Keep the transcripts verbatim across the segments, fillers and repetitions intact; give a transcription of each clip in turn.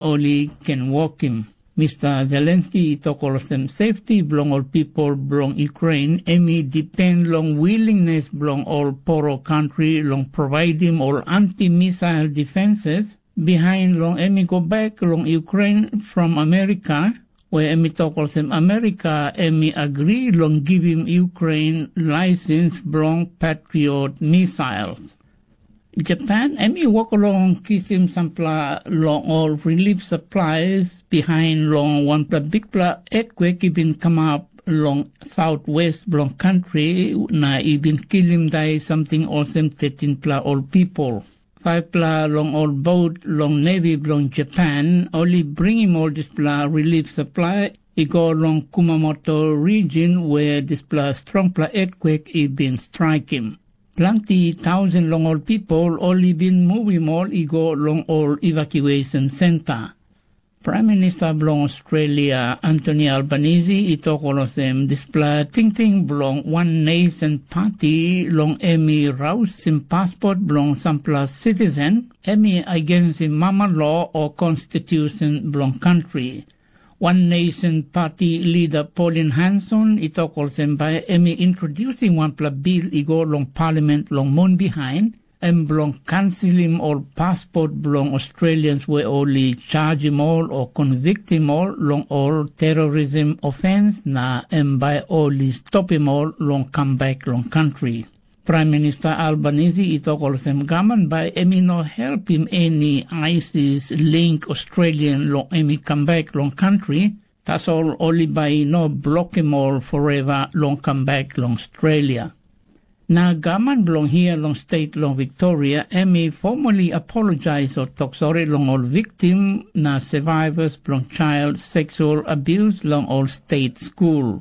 oli ken wokim. Mista Zelenski i tok olsem sefti blong ol pipol blong Ukrain em i dipen long wilingnes blong ol poro kantri long provaidim ol anti-misael difenses bihaen long em i gobek long Ukrain from Amerika, we em i tok olsem Amerika em i agri long givim Ukrain laesens blong Patriot misaels. Japan em i wok long kisim sampela long ol rilif saplaes bihaen long wanpela bikpela etkwek i bin kamap long sautwes blong kantri na i bin kilim dai samting olsem tetinpela ol pipol. Faivpela long ol bot long nevi blong Japan oli bringim ol dispela rilif saplae i go long Kumamoto rijin we dispela strongpela etkwek i bin straikim. Planti tausen long ol pipol oli bin muvim ol i go long ol evakuesen senta. Praem Minista blong Australia Antoni Albanisi i tok olsem dispela tingting blong wan nesen pati long em i rausim paspot blong sampela sitisen em i agensim mama lo o konstitusen blong kantri. Wan Nesen Pati lida Pauline Hanson i tok olsem bae em i introdiusim wanpela bil i go long palamen long mun bihaen, em blong kanselim ol paspot blong Australians we oli jajim ol o konviktim ol long ol terorism ofens na em bae oli stopim ol long kambek long kantri. Praem Minista Albanisi i tok olsem gavman bae em i no helpim eni ISIS link Australian long em i kambek long kantri, tasol oli bae i no blokim ol foreva long kambek long Australia. Na gavman blong hia long stet long Viktoria em i fomali apolojaes o tok sori long ol viktim na sevaivas blong jael seksual abius long ol stet skul.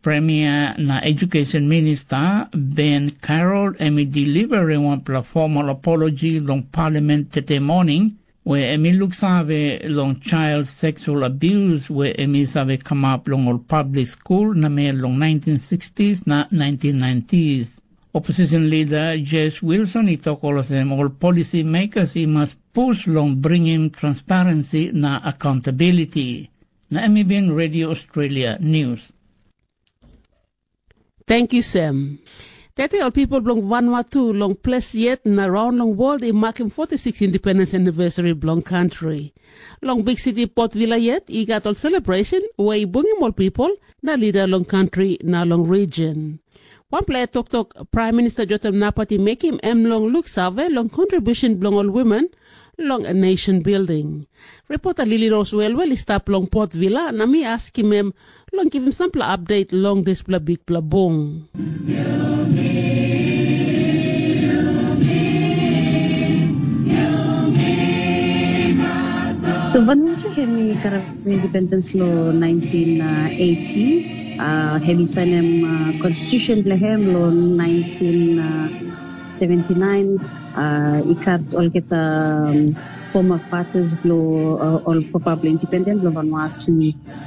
Premia na Ejukesen Minista Ben Carroll em i delivarim wanpela fomal apoloji long palamen tete moning, we em i luksave long jael seksual abius we em i save kamap long ol pablik skul namel long naentin sikstis na naentin naentis. Oposisen lida Jes Wilson i tok olsem ol polisi mekas i mas pus long bringim transparensi na akaontabiliti. Na em i bin Redio Australia Nius. Tangkiu Sem. Tete ol pipol blong Vanuatu long ples yet na raon long wol i makim foti sikis indipendens anivesari blong kantri. Long biksiti Port Vila yet i gat ol selebresen we i bungim ol pipol na lida long kantri na long rijin. Wanpela hed toktok Praem Minista Jotam Napat i mekim em long luksave long kontribiusen blong ol wimen long nesen bilding. Ripota Lili Ros Welwel i stap long Port Vila na mi askim em long givim sampela apdet long dispela bikpela bung. So Vanuatu hem i karem indipendens long naentin eiti. Hem i sainem konstitusen blong hem long naentin seventi naen. I gat olgeta foma fatas blong ol papa blong indipendens blong Vanuatu.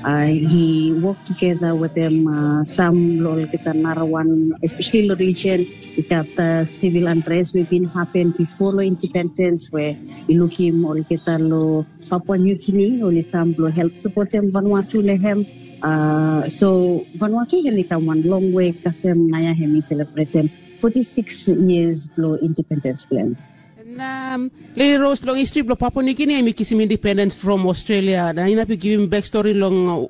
I wok tugeta wetem sam long olgeta narawan, espeseli long rijen i gat sivil anres we bin hapen bifo long indipendens we i lukim olgeta long Papua New Guinea oli kam blong help sapotem Vanuatu long hem. So Vanuatu hem i kam wan longwe kasem naoia hem i selebretem foti sikis yias blong indipendens blong hem. Na Lili Ros, long histri blong Papua New Guinea em i kisim indipendens from Australia. Na inap yu givim bekstori long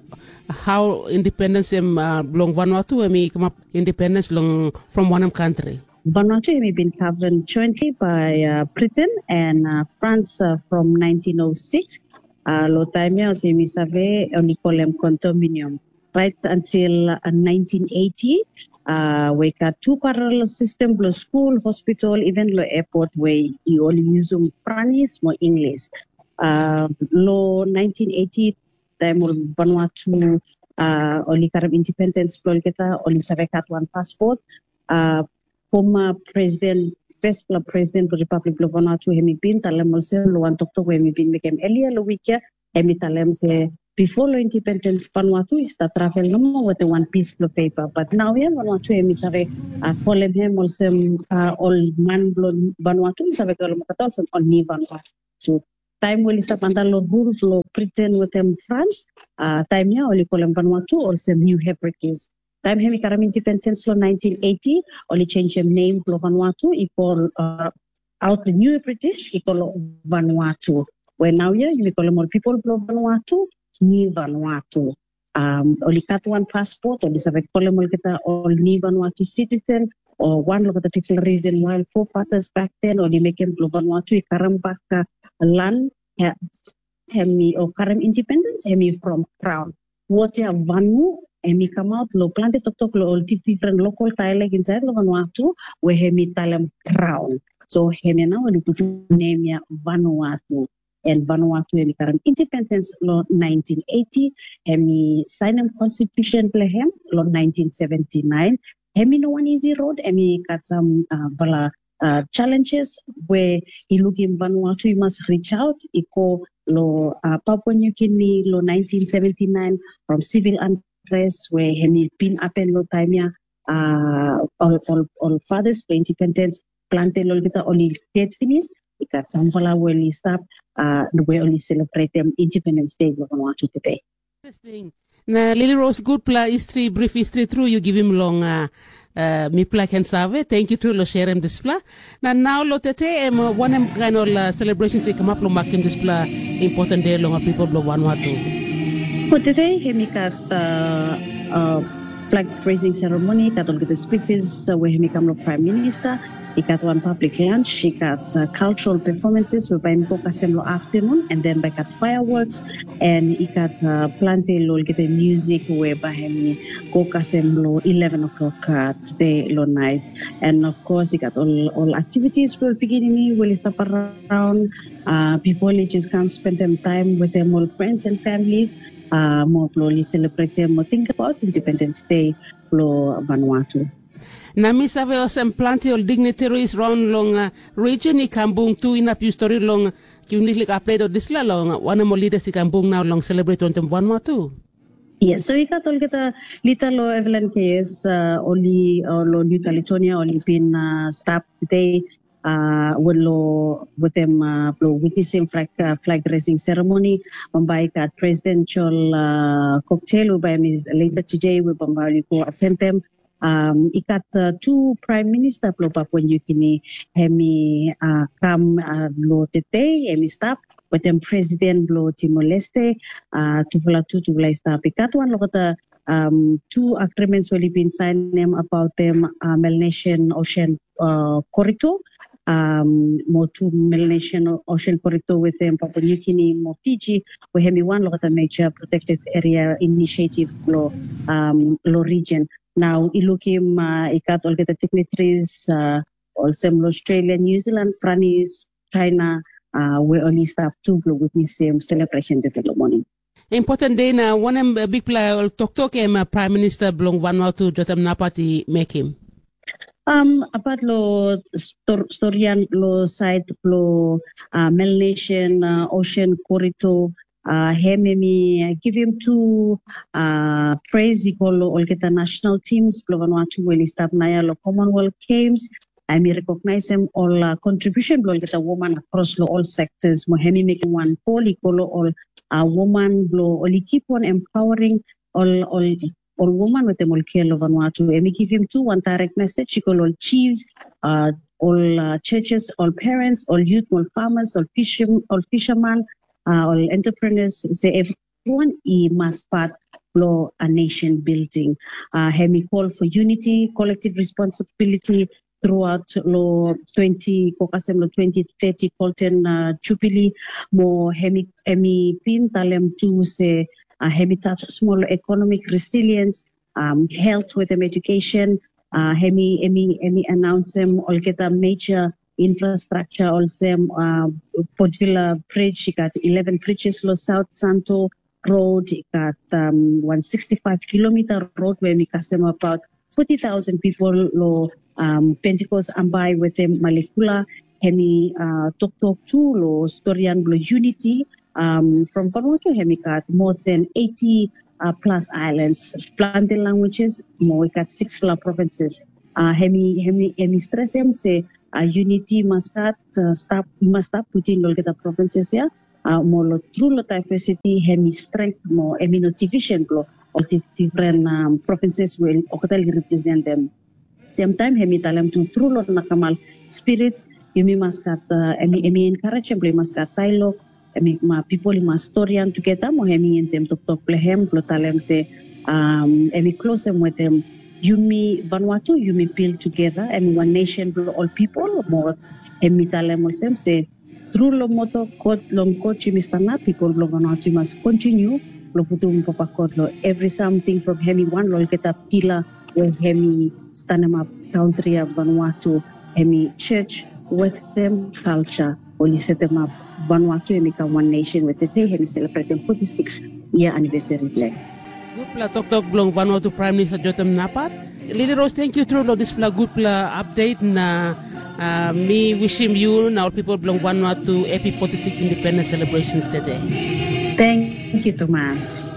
hao indipendens em blong Vanuatu em i kamap indipendens long from wanem kantri? Vanuatu em i bin govern jointly by Britain and France from naentin o sikis. Long taem ya olsem yumi save oli kolem kondominium. Rait antil naentin eiti we i gat tu paralel sistem blong skul, hospital, iven long epot we i oli yusum Pranis mo Inglis. Long naentin eiti taem ol Vanuatu oli karem indipendens blong olgeta oli save gat wan paspot. Foma presiden, fespela presiden blong Ripablik blong Vanuatu hem i bin talem olsem long wan toktok we hem i bin mekem elia long wik ya, hem i talem se bifo long indipendens Vanuatu i stap travel nomo wetem wan pis blong pepa, bat naoia Vanuatu hem i save kolem hem olsem ol man blong Vanuatu i save kolem olgeta olsem ol ni Vanuatu. taem we oli stap anda long rul blong Briten wetem Frans, taem ya oli kolem Vanuatu olsem New Hebrides. Taem hemi karem independens long naentin eiti, oli jenjem nem blong Vanuatu i go aot long New Hebrides i go long Vanuatu, we naoia yumi kolem ol pipol blong Vanuatu New Vanuatu. Oli gat wan paspot, oli save kolem olgeta ol New Vanuatu sitisen, o wan long olgeta bigfala risen wae ol forefathers back then oli mekem blong Vanuatu i karem bak lan, hemi o karem independens hemi from kraon. Wod ya Vanu hemi kamaot long plante toktok long ol difdifren lokol daelek insaed long Vanuatu we hemi talem kraon. So hemia nao oli putum nem ya Vanuatu. And Vanuatu hemi karem independens long naentin eiti, hemi saenem konstitusen blong hem long naentin seventi naen. Hemi no wan isi rod, hemi gat sam bala jalenjes we i lukim Vanuatu i mas rijaot i go long Papua New Guinea long naentin seventi naen from sivil antres we hemi bin hapen long taem ya. Ol fathers blong independens, plante long olgeta oli ded finis. I gat samfala we oli stap we oli selebretem Independens Dei blong Vanuatu tede. Interesting. Na Lily Rose, gudfala histri, brif histri tru yu givim long mipela i ken save. Tenkyu tru long serem dispela. Na nao long tete, em wanem kaen ol selebresen i kamap long makem dispela impoten dei long ol pipol blong Vanuatu? Tete hemi gat flag raising seremoni, gat olgeta spikers we hemi kam long Praem Minista. I gat wan pablik lans, i gat kaltral pefomenses we bae hemi go kasem long aftanun, and then bae gat faewoks, and i gat plante long olgeta musik we bae hemi go kasem long ileven o'clock tede long naet. And of course i gat ol aktivitis blong ol pikinini we oli stap araon. Pipol oli jes kam spendem taem wetem ol frens and familis mo blong oli selebretem mo tingbaot Independens Dei blong Vanuatu. Na mi save olsem plante ol dignitaries raon long rijen i kam bung tu inap yu stori long givim liklik apdet long dispela long wanem ol lidas i kam bung nao long selebret wantaem Vanuatu. Yes, so i gat olgeta lida long Evelyn Keyes, oli long New Caledonia oli bin stap tede we long wetem blong witnesem flag raising seremoni. Bambae i gat Presiden Joel Cocktail we bae hemi leta tede we bambae oli go atendem. I gat tu Praem Minista blong Papua New Guinea, hemi kam long tede, hemi stap wetem Presiden blong Timor-Leste. Tufala tu tufala i stap. I gat wan long olgeta tu agrimens we oli bin saenem abaotem Melanesian Ocean Corridor, mo tu Melanesian Ocean Corridor wetem Papua New Guinea mo Fiji, we hemi wan long olgeta meja protekted eria inisiativ long rijen. Nao i lukim i gat olgeta dignitaries olsem long Australia, New Zealand, Franis, China, we oli stap tu blong witnesem selebresen tede long moning. Impoten dei, na wanem bigfala ol toktok em Praem Minista blong Vanuatu Jotam Napat i mekem? Abat long storian long saed blong Melanesian Ocean Corridor, hem hemi givim tu pres i go long olgeta national teams blong Vanuatu we oli stap naoia long Commonwealth Games. Hemi rekognaesem ol kontribiusen blong olgeta woman akros long ol sektas, mo hemi mekem wan kol i go long ol woman blong oli kip on empowering ol ol ol woman wetem ol gel long Vanuatu. Hemi givim tu wan daerek mesej i go long ol chiefs, ol churches, ol parents, ol youth, ol farmers, ol fisherman, ol entrepreneurs, se everyone i mas pat blong a nation building. Hemi call for unity, collective responsibility, throughout long twenty, go kasem long twenty thirty Golden Jubilee. Mo hemi bin talem tu se hemi touch smol long economic resilience, health wetem education. Hemi hemi hemi announceem olgeta major infrastructure olsem Port Vila Bridge, i gat eleven bridges long South Santo, road, i gat wan sixty-five kilometer road we hemi kasem abaot forty thousand pipol long Pentecost, Ambae wetem Malekula. Hemi toktok tu long storian blong unity. From Vanuatu hemi gat more than eighty plus islands, plante languages, mo i gat sixfala provinces. Hemi hemi hemi stresem se unity mas gat, stap i mas stap putum long olgeta provinces ya. Mo lo tru lo diversity hemi strength mo hemi no division blo ol difren provinces we olgeta oli representem. Semtaem hemi talem tu tru lo nakamal spirit, yumi mas gat, hemi enkarejem blo i mas gat daelog, hemi ma pipol i mas storian tugeta mo hemi endem toktok blo hem blo talem se hemi klosem wetem yumi vanua tu yumi bil tugeta hemi wan nesen blo ol pipol mo hemi talem olsem se tru long moto god long god yumi stanap, pipol blong vanua tu i mas kontiniu blong putum papa god long evri samting from hemi wan long olgeta pila we hemi stanemap kantri ya vanua tu, hemi church wetem kalsa oli setemap vanua tu hemi kam wan nesen we tede hemi selebretem foti sikis yia anivesari blong hem. Gudpela toktok blong vanua tu praem minista jotem napat. Lili ros, tenkyu tru long dispela gudpela apdet na mi wisim yu na ol pipol bilong vanua tu hepi foti sikis indipendens selebresens tede. Tenkyu tumas.